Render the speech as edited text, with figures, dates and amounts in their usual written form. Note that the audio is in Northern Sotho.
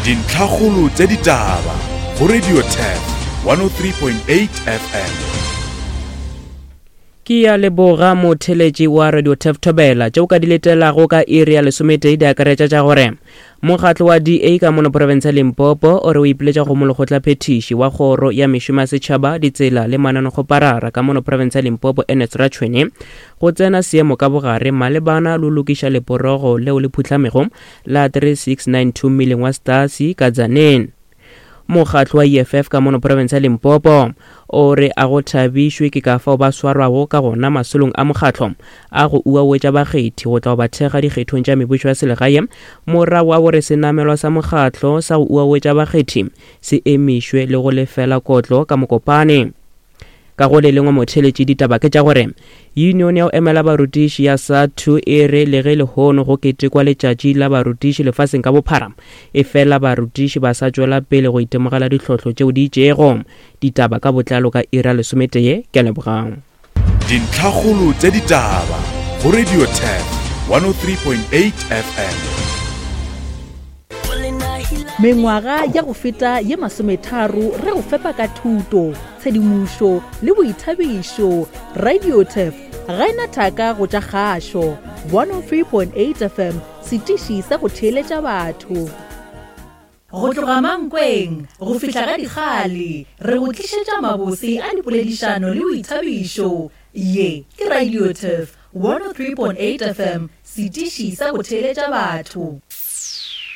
Dintlhakgolo tša ditaba go Radio Turf 103.8 FM. Ke ya leboga motheletši wa Radio Turf Thobela tše o ka di letelago ka iri ya lesometee di akaretša tša gore mokgatlo wa DA ka mono profense ya Limpopo o re o ipiletša go molekgotlaphethiši wa kgoro ya mešomo ya setšhaba ditsela le mananekgoparara ka mono profense ya Limpopo Ernest Ratshwene go tsena seemo ka bogare malebana lo lokiša leporogo leo le phuhlamego la 3692 mmileng wa Stasi ka Tzaneen. Mokgatlo wa EFF ka mono profense ya Limpopo o re a go thabišwe ke ka fao ba swarwago ka gona masolong a mokgatlo a go uawetša bakgethi go tla go ba thekga dikgethong tša mebušo ya selegae morago wa gore senamelwa sa mokgatlo sa go uawetša bakgethi se emišwe le go lefela kotlo ka Mokopane. Ka go le lengwe motheeletši ditaba ke tša gore Union ya go emela barutiši ya SADTU e re le ge lehono go ketekwa letšatši la barutiši lefaseng ka bophara, efela barutiši ba sa tšwela pele go itemogela ditlhohlo tšeo di itšego. Ditaba ka botlalo ka iri ya lesometee. Ke a leboga. Dintlhakgolo tša ditaba go Radio Turf 103.8 FM. Mengwaga ya go feta ye masometharo re go fepa ka thuto, tshedimošo le boithabišo. RadioTurf ga e na thaka go tša kgašo. 103.8 FM, setiši sa go theeletša batho. Go tloga Mankweng go fihla ga Dikgale, re go tlišetša mabose a dipoledišano le boithabišo. Ye ke RadioTurf 103.8 FM, setiši sa go theeletša batho.